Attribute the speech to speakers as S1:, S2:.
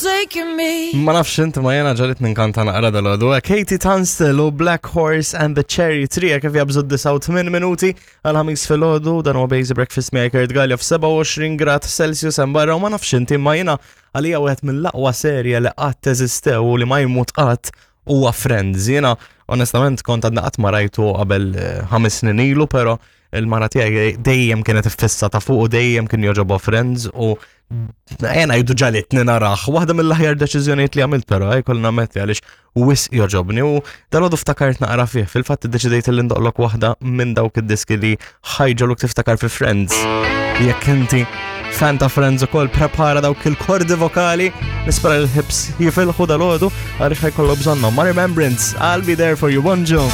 S1: forsaken me.
S2: Ma nafx inti ma jena ġalit ninkanta naqra dal-għodu. Katie Tunstall u Black Horse and the Cherry Tree kif jabżu 89 minuti għal ħamis filgħodu dan huwa Basic Breakfast miegħi Kurt Gallia f'27 grad Celsius hemm barra u ma nafx inti ma jena għalija wieħed mill-aqwa serje li qatt eżistew u li ma jmut qatt huwa Friends. Jiena onestament kont għadna qatt ma rajtu qabel eh, ħames snin ilu, però il-mara tiegħi dejjem kienet iffissata fuq u dejjem kien joġobha Friends u jena jdu ġalitni naraħ. Waħda mill-aħjar deċiżjonijiet li għamilt però, eh, kolli nammetti għaliex wisq joġobni u dal-għodu ftakart naqra fih. Fil-fatt iddeċidejt li ndoqlok waħda minn dawk id-diski li ħajġoluk tiftakar fi Friends. Jekk inti fan ta' Friends ukoll prepara dawk il-kordi vokali, nispera l-ħibs jifilħu dal-għodu għaliex ħajkollu bżonnhom. Ma' Remembrance, I'll be there for you, bonġu.